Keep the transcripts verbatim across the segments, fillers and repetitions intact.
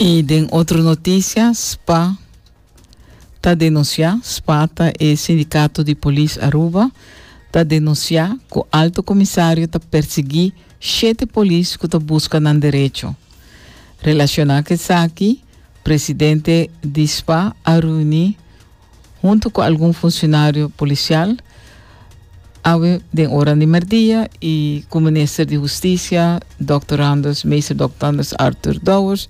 I den otro notisia, S P A ta denunsiá, S P A ta e Sindikato di Polis Aruba, ta denunsiá ku Alto Komisario ta persiguí shete polis ku ta buska nan derecho. Relashoná ku esaki, presidente di S P A a reuní huntu ku algun funshonario polisial awe den ora di mèrdia i ku minister di Hustisia, Doctor Anders, Meester Doctor Anders Arthur Dowers,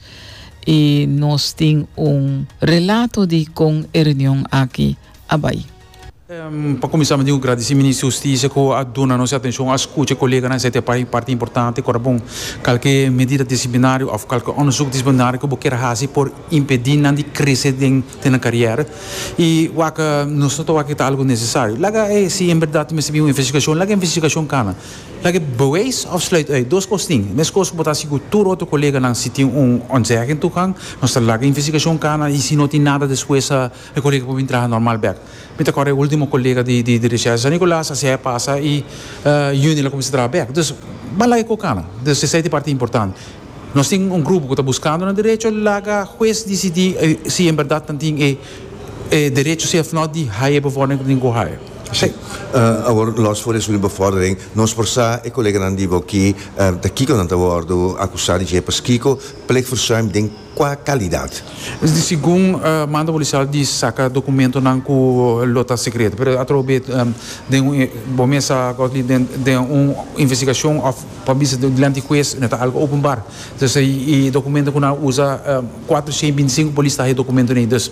i nos tin un relato di kon e reunion aki a bai. Um, pa kuminsá, mi ta gradisí Minister di Hustisia ku a duna nos atenshon, a skucha koleganan, esei ta parti importante. Awor bon, kualke medida disiplinario òf kualke onderzoek disiplinario ku bo ke hasi por impedí nan di krese den den karera. I wak, nos no ta ku algu nesesario. Laga eh, si en berdat mester un investigashon, laga investigashon kana. Laga bewijs of sluit uit. Dos kos tin. Meskos ku bo ta ku tur otro koleganan, si tin un ontzegging toegang, nos ta laga investigashon kana i si no tin nada despues, e kolega por traha normal bèk. Mi ta e último kolega di di di recherche San Nicolas, asina a pasa i uh, yüni el a kuminsá traha bèk. Dus ban laga e kana. Dus esei ta parti importante. Nos tin un grupo ku ta buskando un derecho, laga hues disidí eh, si en berdat tin e eh, derecho, si òf no di haya bevordering ku tin ku haya. Si. Uh, awor, los for di bevordering, nos por sa e koleganan di bo aki, uh, di kiko nan ta wòrdu akusá di dje, kiko plichtverzuim den kua kalidat? Segun uh, mando polisial di saka dokumentonan ku lo ta sekreto, pero atrobe um, den un bon mesa den den un investigashon òf pa bisa dilanti hues, no ta algu openbaar. Dus e dokumento ku nan usa, um, kuatershen bintisinku polis ta e dokumento nei, dus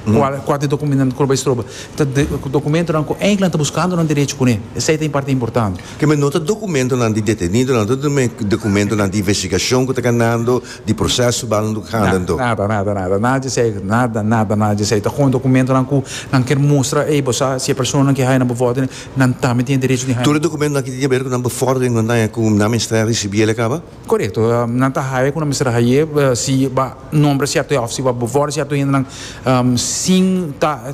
kua kuater dokumento ku bai stroba. Ta dokumentonan ku eigenlijk ta buskando un derecho kuné. Esei ta parti importante. Ke men no ta dokumentonan di detenido, no ta dokumentonan di investigashon ku ta kanando, di proseso bandando gaande. Nada, nada, nada, nada di esei, nada, nada, nada di esei. Ta gewoon dokumentonan ku nan ke mustra, ei, bo si e persona ku haya bevordering, nan tambe tin derecho di haya. Tur dokumentonan ku tin di aber ku nan bevordering, nan ta ku nan mester risibí el kaba? Korekto, nan ta haya ku nan mester haya, si bo nombra sierto òf si bo bevorder sierto nan um, sin ta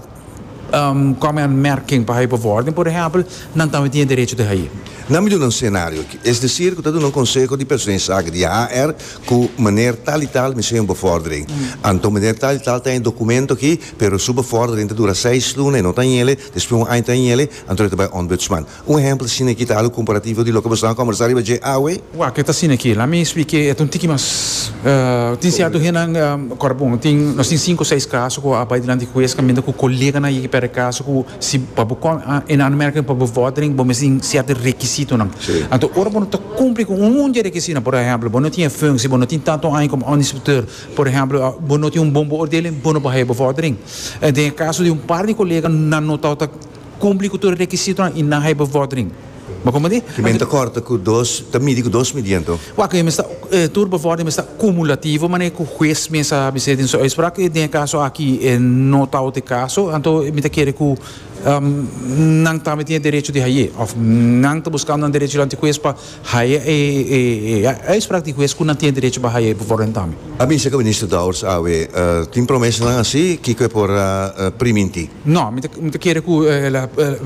um, kom in aanmerking pa bevordering, por ehèmpel, nan tambe tin derecho di haya. Laga mi duna un senario. Es desir, ku ta un konseho di personeelszaken di H R, ku meneer tal i tal mester un bevordering. Mm. Anto meneer tal i tal tin un dokumento aki, pero su bevordering ta dura seis luna, no tin ele, despues un aña tin ele, anto ta bai ombudsman. Un ehèmpel asina aki ta algu komparativo di loke bo a kombersá riba dje awe? Wak, ta asina aki. Laga mi splika, e un tiki mas uh, tin sierto hendenan um, bon, tin nos tin sinku, seis kaso ku a bai dilanti hues kaminda ku koleganan a pèrdè kaso ku si pa in aanmerking pa bevordering, bo mester tin sierto rekisitonan. Anto ora bo no ta kumpli ku un di rekisito, por ehèmpel, bo no tin functie, bo no tin tantu aña komo inspecteur, por ehèmpel, bo no tin un bon beoordeling, bo no por bevordering. En den kaso di un par di kolega, nan no ta kumpli ku tur rekisito i nan haya bevordering. Ma kon di? Ke men ta kòrta ku dos, ta midi ku dos midí anto. Wak, mester eh, tur bevordering mester kumulativo, ma ku hues mes a bisa den su uitspraak, den kaso aki eh, no ta e kaso, anto mi ta kere ku um, nan tambe tin derecho di haya, òf nan ta buskando un derecho dilanti hues pa haya e e e uitspraak di hues ku nan tin derecho pa haya bevordering tambe. A bisa ku minister Dowers awe, uh, tin promesanan asina, kiko por uh, primintí? No, mi ta kere ku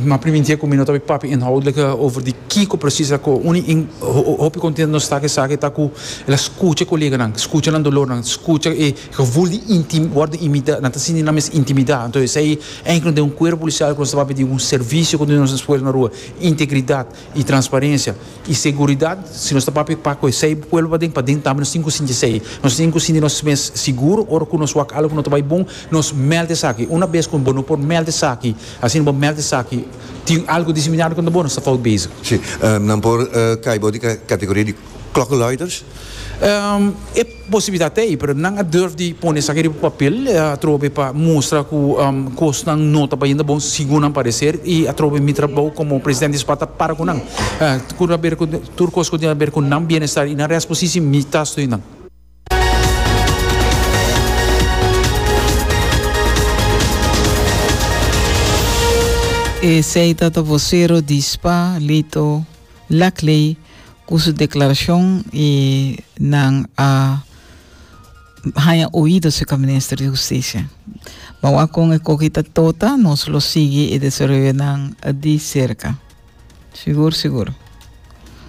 m'a primintí ku mi no ta papia inhoudelijk over di kiko precies ku uni in hopi kontentu nos ta ku esaki ta ku el a skucha koleganan, skucha nan dolornan, skucha e gevoel di intim worden imita, nan ta sinti nan mes intimidá. Anto esei eigenlijk den un kuerpo polisial ku nos ta di un servisio ku nos pueblo na rua, integridat i transparensia i seguridat, si nos ta papia pa ku esei pueblo paden, paden tambe nos tin ku sinti esei. Nos tin ku sinti nos mes sigur, ora ku nos wak algu ku no ta bai bon, nos meld esaki. Una bes ku bo no por meld esaki, asina bo meld esaki, tin algu disiplinario ku no bon, ta fout bezig. Si, um, nan por uh, kai di kategoria di klokkenluiders? Um, e posibilidat ei, pero nan a durf di pone esaki riba papel, atrobe pa mustra ku um, kosnan no ta bayendo bon, segun nan pareser, i atrobe mi trabou komo presidente di S P A ta para ku nan. Uh, ku aber ku tur kos ku tin aber ku nan bienestar i nan rechtspositie, mi ta steun nan. Esei ta vosero di S P A, Lito Laclay, ku su deklarashon i nan a haya oido serka minister di Hustisia. Ma kon e kos ta tota, nos lo sigui e desaroyonan di serka. Sigur, sigur.